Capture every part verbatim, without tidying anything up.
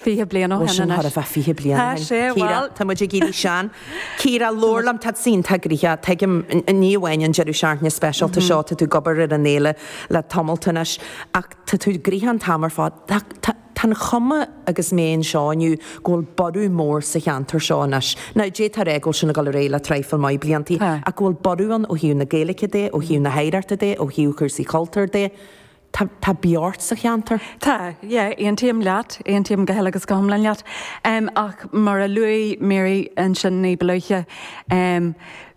Fiche bliain ó Bhuel shin sin anois. thar a bheith fiche bliain Tá ó shin. sé, Ciara, bhuel. tá muid ag éirí sean. Ciara, labhair liom, tá tú iontach gnoitheach, tuigim, ní amháin an deireadh seachtaine speisialta seo, tá tú ag obair ar an fhéile le tamalt anois, ach tá tú gnoitheach an t-am ar fad. Tá, tá, tá an chuma agus mé anseo inniu go bhfuil borradh mór sa cheantar seo anois. Now, d'fhéadfá a rá go bhfuil sin ag dul ar aghaidh le traidhfil maith bliantaí, Tá. ach go bhfuil borradh ann ó thaobh na Gaeilge de, ó thaobh na hoidhreachta de, ó thaobh chúrsaí cultúir de. Tá, tá beocht sa cheantar. Tá, yeah, aontaím leat, aontaím go huile agus go hiomlán leat. Um, ach mar a luaigh Mary ansin ní ba luaithe, um,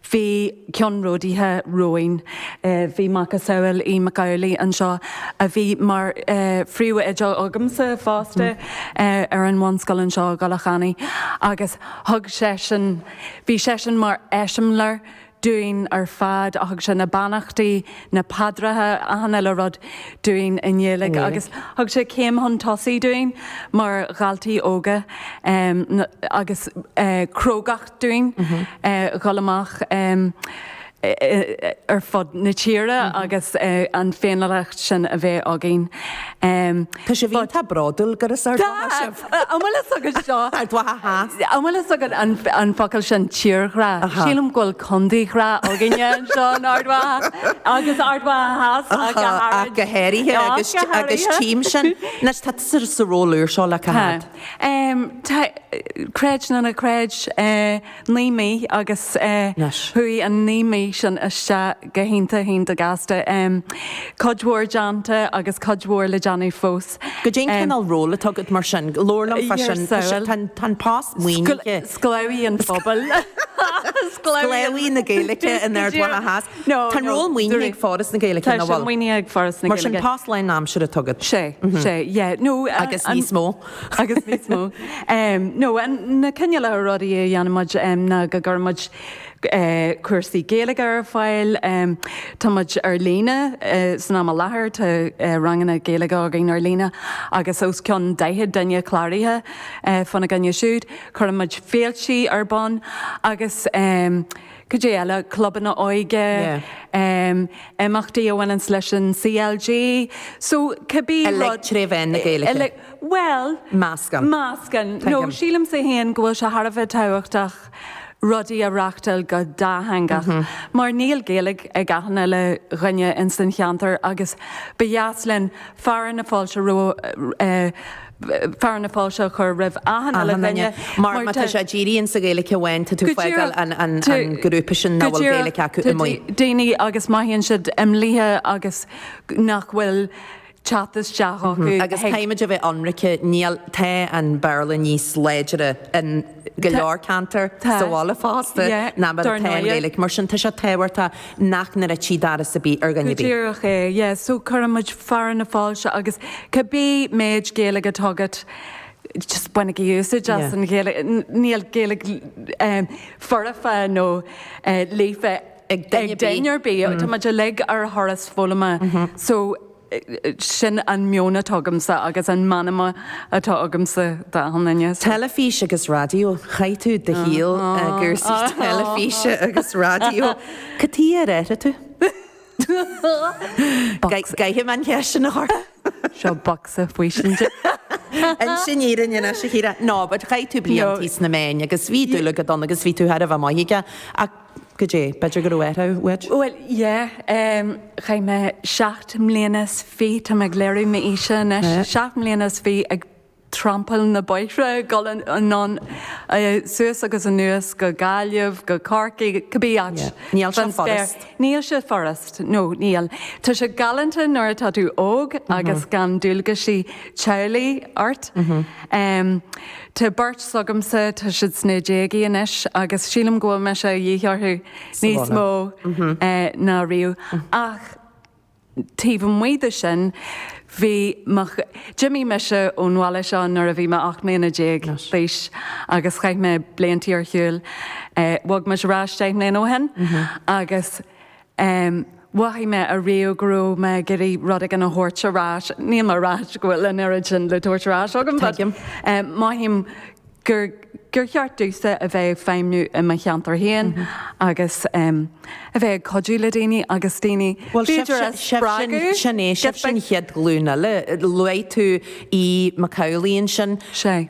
bhí ceannródaithe romhainn, uh, bhí macasamhail Uí McAuley anseo a bhí mar uh, phríomhoide agamsa fosta mm. uh, ar an bhunscoil anseo i gCoileach Annaidh agus thug seisean, bhí seisean mar eiseamláir dúinn ar fad a thug sé na beannachtaí, na paidreacha achan uile rud dúinn i nGaeilge agus thug sé céim chun tosaigh dúinn mar dhaltaí óga um, agus uh, crógacht dúinn mm -hmm. uh, dhul amach um, ar fud na tíre agus uh, an féiniúlacht sin a bheith againn. Um, Tá sé bhí tá bródúil gur as Ard Mhacha sibh. An bhfuil a fhios agat seo? Ard Mhacha Theas. An bhfuil a fhios agat an, an focal sin tírghrá? Sílim go bhfuil contaeghrá againne anseo in Ard Mhacha agus Ard Mhacha Theas ach go Ach go háirithe agus agus tím sin. Anois tá tú sa ról úr seo le cá fhad. Um, tá, creid nó ná creid uh, naoi mí agus uh, Anois. chuaigh an naoi mí sin isteach go hiontach hiontach gasta. Um, cuid mhór déanta agus cuid mhór le déanamh fós. Goidé an cineál ról atá agat mar sin, labhair liom fá sin Yourself. tá an post maoinithe. Sclábhaí an phobail. Sclábhaí na Gaeilge in Ard Mhacha Theas. No, Tá no, ról maoinithe ag Foras na Gaeilge Tá na sé bhfuil. maoinithe ag Foras na Mar sin Gaeilge. post lánaimseartha atá agat. Sé, sé, yeah. No, Agus an- níos mó. agus níos mó. Um, no, an na cineálacha rudaí a dhéanaimid um, ná go gcuirimid uh, cúrsaí Gaeilge ar fáil, um, Tá muid ar líne uh, san am i láthair tá uh, ranganna Gaeilge againn ar líne agus os cionn daichead duine cláraithe uh, fána gcoinne siúd, cuirimid féilte ar bun agus um, Cad é eile clubanna óige, Yeah. um, imeachtaí a bhaineann leis an CLG, so cibé Uilig tré mheán na Gaeilge. Uilig- Well, Meascán. Meascán. No, Tuigim. sílimse féin go bhfuil sé thar a bheith tábhachtach rudaí a reáchtáil go dátheangach. Mm -hmm. Mar níl Gaeilge ag achan uile dhuine in san cheantar agus ba dheas linn fearadh na fáilte ro uh, fearadh na fáilte chur roimh achan uile dhuine. Mar má tá sé dírithe sa Ghaeilge amháin tá tú Go fágáil díreach. an an Tá- an grúpa sin nach Go bhfuil díreach. Gaeilge acu Tá amuigh. Daoine agus mothaíonn siad imeallaithe agus nach bhfuil teacht isteach acu. Agus caithfimid a bheith ionraic níl tá an Béarla níos láidre in go leor ceantar Tá. sa bhaile fosta Yeah, ná mar dar atá an ndóigh. Ghaeilge. Mar sin tá sé tábhachtach nach ndruidfí doras ar bith ar dhuine Go ar bith. díreach é, yeah, so cuirimid fearadh na fáilte agus cibé méid Gaeilge atá agat just bainigí úsáid as Yeah. an Ghaeilge níl Gaeilge um, foirfe nó uh, líofa Ag duine ag duine ar bith, Tá muid uilig ar thuras foghlama. So eh, eh, sin an meon atá agamsa agus an meanma atá agamsa d'achan duine. So- Teilifís agus raidió, chaith tú do shaol i gcúrsaí teilifíse agus raidió. Cad chuige ar éirigh tú? Caithfidh mé an cheist sin a chur. Seo bocsa faoistin. Inis an fhírinne anois a Chiara. No, but chaith tú blianta sna meáin agus bhí dúil agat ann agus bhí tú thar a bheith maith aige ach goidé, b'fhéidir go raibh uait? Well, yeah, um, chaith mé seacht mbliana is fiche tá mé ag léiriú m'aoise anois seacht mbliana is fiche ag trampáil na bóithre dul anonn suas agus anuas go Gaillimh, go Corcaigh, cibé áit. Yeah. Níl sé Fan spéir. furast. Níl sé furast, no, níl. Tá sé galánta nuair atá tú óg agus gan dualgaisí teaghlaigh ort. Um, Tá beirt s'agamsa tá siad sna déagaí anois agus sílim go bhfuil mise de dhíth orthu níos mó eh, ná riamh. Ach taobh amuigh de sin, bhí d'imigh mise ón bhaile seo nuair a bhí mé ocht mbliana déag d'aois agus chaith mé blianta ar shiúl. Eh, bhog mise ar ais deich mbliana ó shin agus um, mhothaigh mé ariamh go raibh mé ag iarraidh rud éigin a thabhairt ar ais. Níl mé ag rá go bhfuil an oiread sin le tabhairt ar ais agam, but, Tuigim. um, mothaím gur gur cheart domhsa a bheith ag feidhmiú i mo cheantar féin agus um, a bheith ag cuidiú le daoine agus daoine Well b'fhéidir a spreagadh. sin é sibh sin chéad ghlúin eile luaigh tú í McCauley sin Sé.